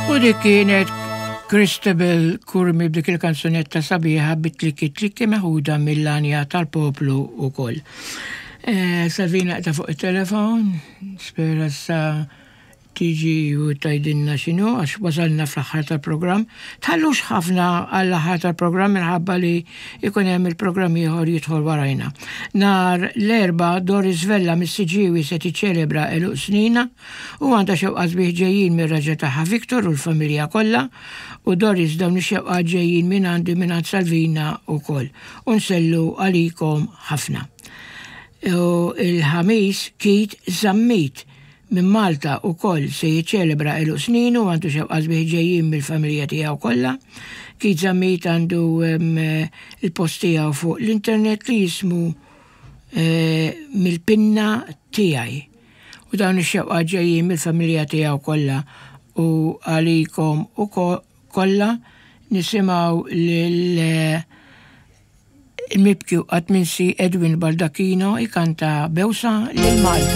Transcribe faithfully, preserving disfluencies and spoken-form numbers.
U dik kienet Christabel Curmi b'dik il-kanzunetta sabiħa bit-tlikki tlikki, meħuda mill-Għanja tal-Poplu u koll. Eh, Salvina ta' fuq il-telefon, spera sa tiġi u tgħidilna x'inhu, għax wasalna fl-aħħar tal-programm. Tħallux ħafna għall-aħħar tal-programm minħabba li ikun hemm il-programm ieħor jidħol warajna. Nhar l-Erbgħa, Doris Vella mis-Siġġiewi se tiċċelebra għeluq sninha u għandha xewqat sbieħ ġejjin mir-raġel tagħha Victor u l-familja kollha, u Doris, dawn ix-xewqat ġejjin minn għandi, minn għand Salvina wkoll. U nsellu għalikom ħafna. U il-Ħamis, Keith Zammit minn Malta ukoll se jiċċelebra għeluq sninu, għandu xewqat sbieħ ġejjin mill-familja tiegħu kollha. Keith Zammit għandu il-post tiegħu fuq l-internet li jismu eh, Mill-Pinna Tiegħi. U dawn ix-xewqat ġejjin mill-familja tiegħu kollha u għalikom u kollha. Nisimgħu lil il-mibki u qatt minsi Edwin Baldacchino ikanta Bewsa lil Malta.